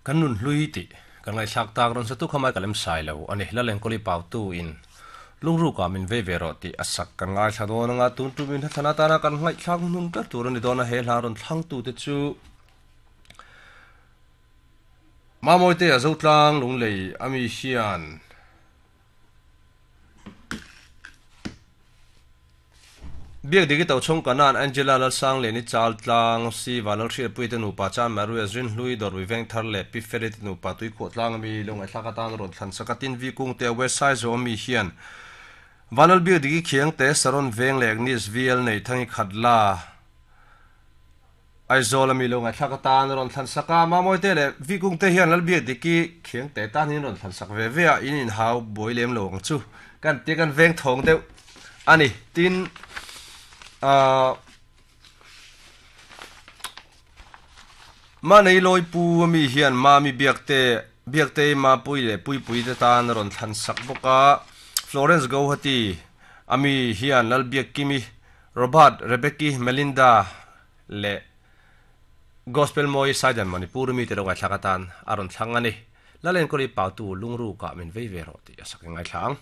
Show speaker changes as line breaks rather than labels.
Kan nun hlui tih kan ngaihthlak tak rawn satu kha Michael M. Sailo a ni. Lalengkawli Pautu in Lungruk ah min vei ve rawh tih a sak kan ngaithla dawn anga tun tum in hnathlan atana kan ngaihthlak hnung ber tur a ni dawn a, he hla rawn thlangtu te chu Mamawite a Zotlang Lunglei ami hian Biak dik i to chhung kanan Angela Lalsangliani Chal Tlang, Siva Lalhriatpuii te nupa Chan Maria Zinhlui Dawrui Vengthar leh Pi Feli te nupa Tuikhuah Tlang ami lo ngaihthlak atan rawn thlan sak a, tin Vi Kungte a West Saizaw ami hian Vanlal Biak dik i Khiangte Saron Veng leh Agnes VL nei Thangi Khatla Aizawl ami lo ngaihthlak atan rawn thlan sak a, Mamawite leh Vi Kungte hian Lalbiak dik i Khiangte tan hian rawn thlan sak ve ve a, in inhau buai lem lo ang chu kan tia kan veng thawng deuh. A ni, tin, ah, Manei lawi pu ami hian Mami Biakte, Biaktei Mapui leh Puipui te tan a rawn thlan sak bawk a, Florence Gauhati ami hian Lalbiakkimi, Robert, Rebecki, Melinda leh Gospel Mawi Saidan Manipur mite lo ngaithlak atan a rawn thlang a ni. Lalenkawli Pautu lungrukah min vei ve rawh tih a sak i ngaithla ang.